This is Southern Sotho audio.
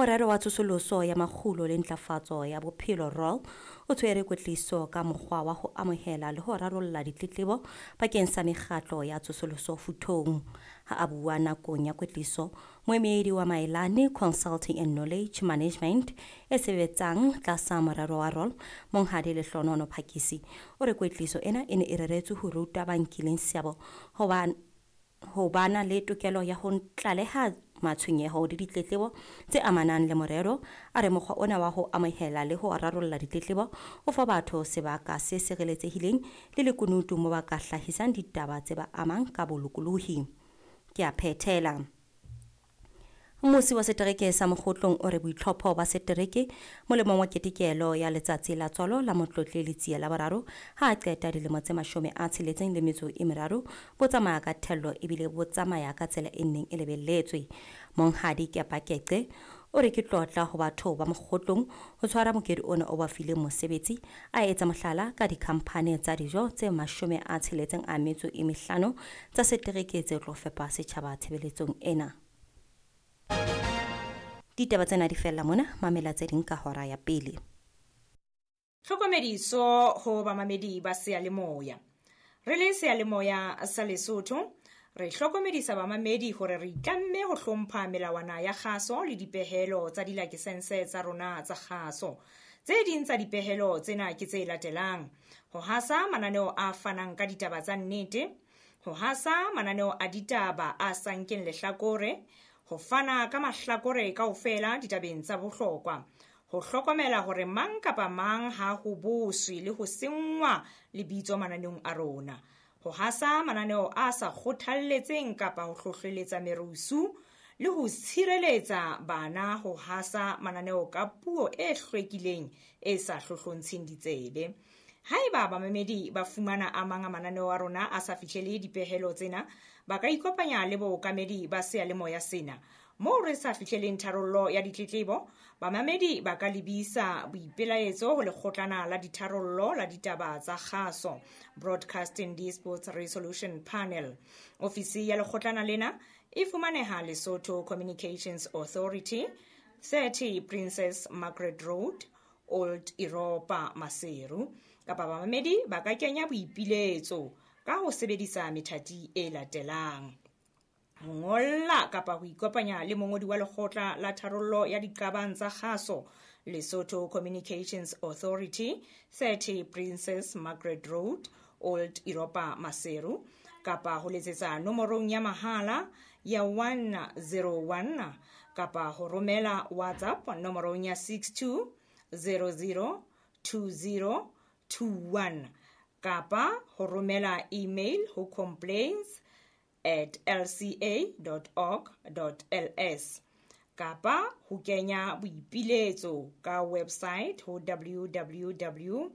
Morero wa tsosoloso ya makgulo le ntlafatso ya bophelo ROL o tshwere kwetliso ka mokgwa wa ho amohela le ho rarolla ditletlebo bakeng sa mekgatlo ya tsosoloso futhong. Ha a bua nakong ya kwetliso, moemedi wa Maelane Consulting and Knowledge Management e sebetsang tlasa morero wa ROL, Monghadi Lehlonono Phakisi, o re kwetliso ena e ne e reretswe ho ruta ba nkileng seabo ho bana le tokelo ya ho tlaleha matshwenyeho le ditletlebo tse amanang le morero. A re mokgwa ona wa ho amohela le ho rarolla ditletlebo o fa batho sebaka se sireletsehileng le lekunutu mo ba ka hlahisang ditaba tse ba amang ka bolokolohi. Ke a phethela. Mmusi wa setereke sa Mokgotlong o re boitlhopho ba setereke molemong wa ketekelo ya letsatsi la tswalo la Motlotle Letsie la boraro ha a qeta dilemo tse 63 bo tsamaya ka thello ebile bo tsamaya ka tsela e neng e lebelletswe. Monghadi Kepa Keqe o re ke tlotla ho batho ba Mokgotlong ho tshwara mokedi ona o ba fileng mosebetsi, a etsa mohlala ka dikhamphane tsa dijo tse 65 tsa setereke tse tlo fepa setjhaba tshebeletsong ena. Ditaba tsena di fella mona, mamela tse ding ka hora ya pele. Tlhokomediso ho bamamedi ba seyalemoya. Re le seyalemoya sa Lesotho, re hlokomedisa bamamedi hore re itlamme ho hlompha melawana ya kgaso le dipehelo tsa dilakesense tsa rona tsa kgaso. Tse ding tsa dipehelo tsena ke tse latelang: ho hasa mananeo a fanang ka ditaba tsa nnete, ho hasa mananeo a ditaba a sa nkeng lehlakore, ho fana ka mahlakore kaofela ditabeng tsa bohlokwa, ho hlokomela hore mang kapa mang ha ho boswe le ho senngwa lebitso mananeong a rona, ho hasa mananeo a sa kgothalletseng kapa ho hlohleletsa merusu, le ho tshireletsa bana ho hasa mananeo ka puo e hlwekileng e sa hlohlontsheng ditsebe. Haeba bamamedi ba fumana a mang a mananeo a rona a sa fihlele dipehelo tsena, ba ka ikopanya le bookamedi ba seyalemoya sena. Moo re sa fihleleng tharollo ya ditletlebo, bamamedi ba ka lebisa boipelaetso ho lekgotlana la ditharollo la ditaba tsa kgaso, Broadcasting Disputes Resolution Panel. Ofisi ya lekgotlana lena e fumaneha Lesotho Communications Authority, 30 Princess Margaret Road, Old Europa, Maseru. Kapa bamamedi ba ka kenya boipiletso ka ho sebedisa methati e latelang: ho ngolla kapa ho ikopanya le mongodi wa lekgotla la tharollo ya diqabang tsa kgaso, Lesotho Communications Authority, 30 Princess Margaret Road, Old Europa, Maseru, kapa ho letsetsa nomorong ya mahala ya 101, kapa ho romela WhatsApp nomorong ya 62 00 20 21, kapa ho romela email ho complaints@lca.org.ls, kapa ho kenya boipiletso ka website ho www.lca.org.ls.